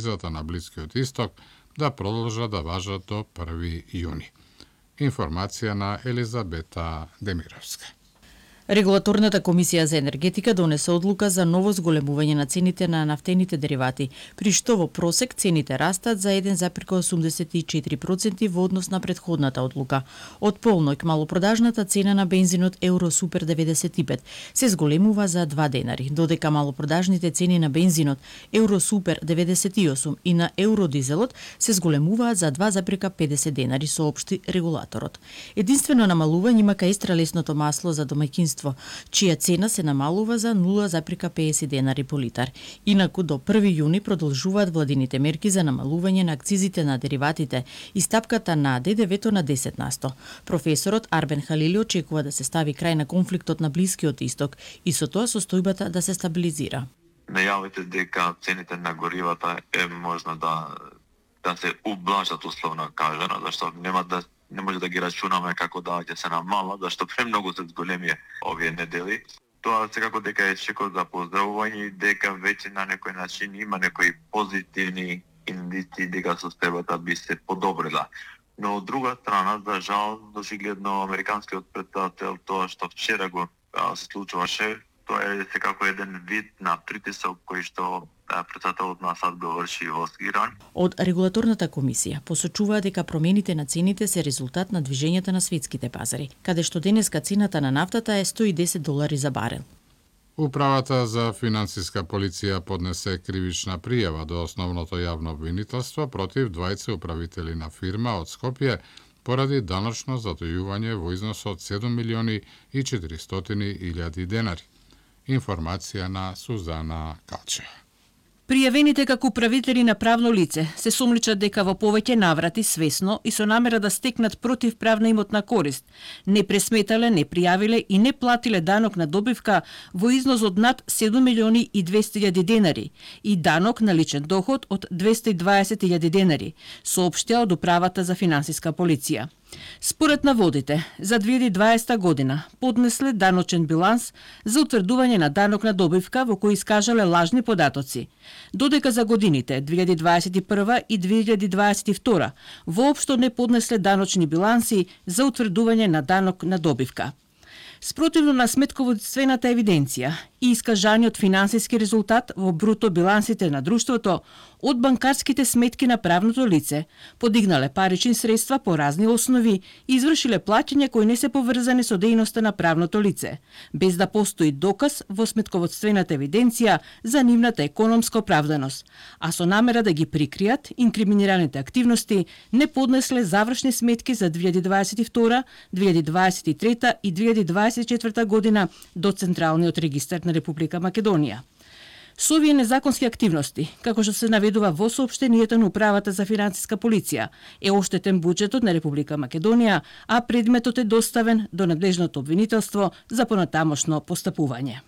визата на Блискиот Исток да продолжат да важат до 1 јуни. Информација на Елизабета Демировска. Регулаторната комисија за енергетика донесе одлука за ново зголемување на цените на нафтените деривати, при што во просек цените растат за 1,84% во однос на претходната одлука. Од полноќ малопродажната цена на бензинот Евро Супер 95 се зголемува за 2 денари, додека малопродажните цени на бензинот Евро Супер 98 и на Евродизелот се зголемуваат за 2,50 денари, соопшти регулаторот. Единствено намалување има кај екстралесното масло за домаќинство, чија цена се намалува за 0,50 денари по литар. Инаку до 1 јуни продолжуваат владините мерки за намалување на акцизите на дериватите и стапката на ДДВ-то на 10%. Професорот Арбен Халили очекува да се стави крај на конфликтот на Блискиот Исток и со тоа состојбата да се стабилизира. Најавите дека цените на горивата е можно да се ублажат условно кажано, зашто не може да ги рачунаме како да ќе се намала, зашто премногу се зголеми овие недели. Тоа секако дека е чекор за поздравување и дека веќе на некој начин има некои позитивни индици дека состојбата би се подобрила. Но од друга страна, за жал, дожигледно американскиот претседател, тоа што вчера го се случуваше, тоа е секако еден вид на притисок кој што претседателот на САД го врши во Иран. Од регулаторната комисија посочува дека промените на цените се резултат на движењата на светските пазари, каде што денеска цената на нафтата е $110 за барел. Управата за финансиска полиција поднесе кривична пријава до основното јавно обвинителство против двајца управители на фирма од Скопје поради даночно затојување во износ од 7.400.000 денари. Информација на Сузана Калчева. Пријавените како управители на правно лице се сумничат дека во повеќе наврати свесно и со намера да стекнат противправна имотна корист, не пресметале, не пријавиле и не платиле данок на добивка во износ од над 7.200.000 денари и данок на личен доход од 220.000 денари, соопштија од Управата за финансиска полиција. Според наводите, за 2020 година поднесле даночен биланс за утврдување на данок на добивка во кој искажале лажни податоци, додека за годините 2021 и 2022 воопшто не поднесле даночни биланси за утврдување на данок на добивка. Спротивно на сметководствената евиденција и искажаниот финансиски резултат во бруто билансите на друштвото, од банкарските сметки на правното лице подигнале парични средства по разни основи и извршиле плаќања кои не се поврзани со дејноста на правното лице, без да постои доказ во сметководствената евиденција за нивната економска оправданост, а со намера да ги прикријат инкриминираните активности не поднесле завршни сметки за 2022, 2023 и 2024 година до Централниот регистар на Република Македонија. Со овие незаконски активности, како што се наведува во соопштението на Управата за финансиска полиција, е оштетен буџетот на Република Македонија, а предметот е доставен до надлежното обвинителство за понатамошно постапување.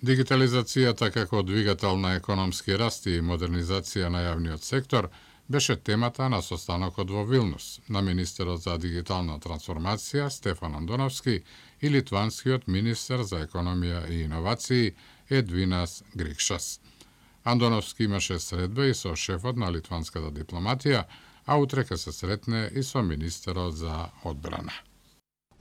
Дигитализацијата како двигател на економски раст и модернизација на јавниот сектор беше темата на состанокот во Вилнус на министерот за дигитална трансформација Стефан Андоновски и литванскиот министер за економија и иновации Едвинас Грикшас. Андоновски имаше средба и со шефот на литванската дипломатија, а утре ќе се сретне и со министерот за одбрана.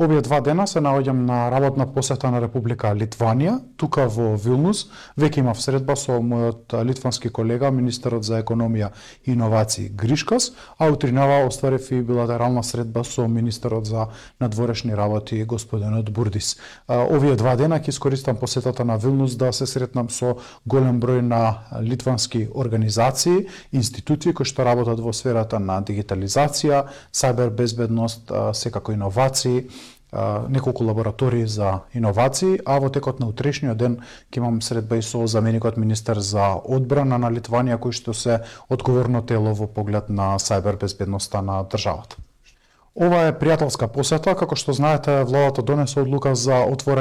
Овие 2 дена се наоѓам на работна посета на Република Литванија, тука во Вилнус. Веќе имав средба со мојот литвански колега, министерот за економија и иновации Гришкас, а утринава остварив и билатерална средба со министерот за надворешни работи господинот Бурдис. Овие 2 дена ќе искористам посетата на Вилнус да се сретнам со голем број на литвански организации, институции кои што работат во сферата на дигитализација, сајбер безбедност, секако иновации, неколку лаборатории за иновации, а во текот на утрешниот ден ќе имам средба и со заменикот министер за одбрана на Литванија, кој што се одговорно тело во поглед на сајбер безбедноста на државата. Ова е пријателска посета, како што знаете, владата донесе одлука за отворање